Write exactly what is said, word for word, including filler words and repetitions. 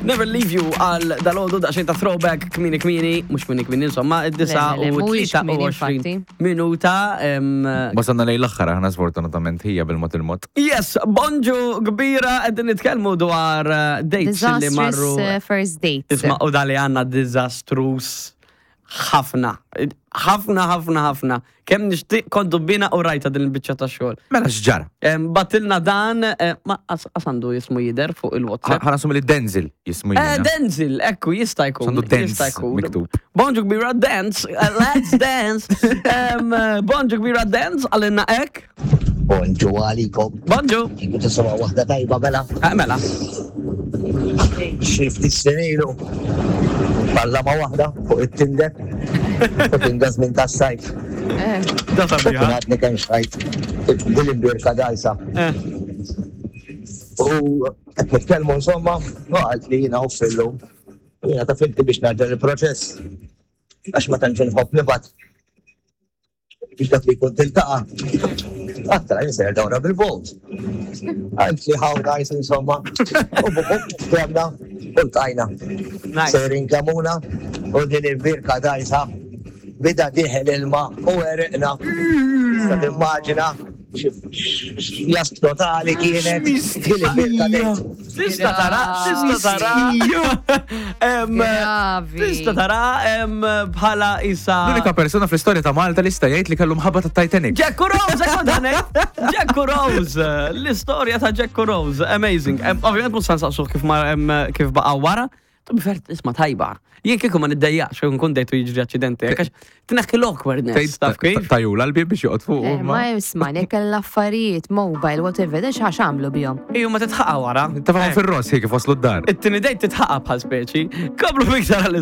Never Leave You għal dalgħodu, daqsxejn ta' throwback kmieni kmieni, mhux kmieni kmieni, insomma, id-disgħa Le, le, u mhuwiex kmieni, tlieta u għoxrin infatti. minuta. em, Wasalna lejn l-aħħar aħna, sfortunatament, hija bil-mod il-mod. Yes, bonġu kbira, qegħdin nitkellmu dwar eh, dates li marru. Disastrous uh, first dates. Isma', u dali għandna disastrous ħafna. Ħafna, ħafna, ħafna. Kemm nixtieq kontu bina u rajta din il-biċċa ta' xogħol. Mela x'ġara? Em, Bagħtilna dan, eh, ma as as għandu jismu jider fuq il-WhatsApp. Ħa nassumi li Denzel jismu Eh, jiena. Denzel, ekku, jista' jkun. Għandu Dance Jista' jkun. miktub. Bonġu kbira dance, eh, let's dance. Em, eh, Bonġu kbira dance, għalinna ek. Bonġu għalikom. Bonġu. Kiku tisma' waħda tajba mela. Eh, mela. Xi ftit snin ilu. Balla ma' waħda fuq it-Tinder. U kien da żmien tas-sajf. Eh, Da U sabiħa. kien għadni kemm xtrajt dil-imbierka dgħajsa. Eh, U qed nitkellmu insomma, u qalt li jiena uffillu. Jiena ta' finti biex ngħaġġel il-proċess. Għax ma tantx inħobb nibgħat. Biex dak li jkun tiltaqa'. Għedtilha jien sejjer dawra bil-boat. Għalt li how nice insomma. U buħu, ftehemna, u ltqajna. Nice. Sejrin Kemmuna u din il-birka dgħajsa. Beda dieħel ilma u għeriqna. Tista' timmaġina x'jask totali kienet. Din il-birka dejt. Tista tara, tista tara. Em, Gravi. Tista tara em, bħala isa. L-unika persona fl-istorja ta' Malta li sta jgħid li kellu mħabba ta' Titanic. Jack Rose, ekku danek. Jack Rose, l-istorja ta' Jack Rose, amazing. Em, Ovvijament mhux sansaqsuh kif ma em, kif baqa wara. To be fair, isma' tajba. Jien kieku ma niddejjaqx, kieku nkun dejtu jiġri aċċidenti, għax tneħħi l-awkwardness, taf kif? Tajula l-bib biex joqgħod fuq. Eh, Ma isma' nek l-affarijiet, mobile, whatever, dan x'għax għamlu bihom. Iju ma titħaqa wara. Tafahom fir-ross hi kif waslu d-dar. It-tieni date titħaqa bħal speċi. Komplu fiktar għal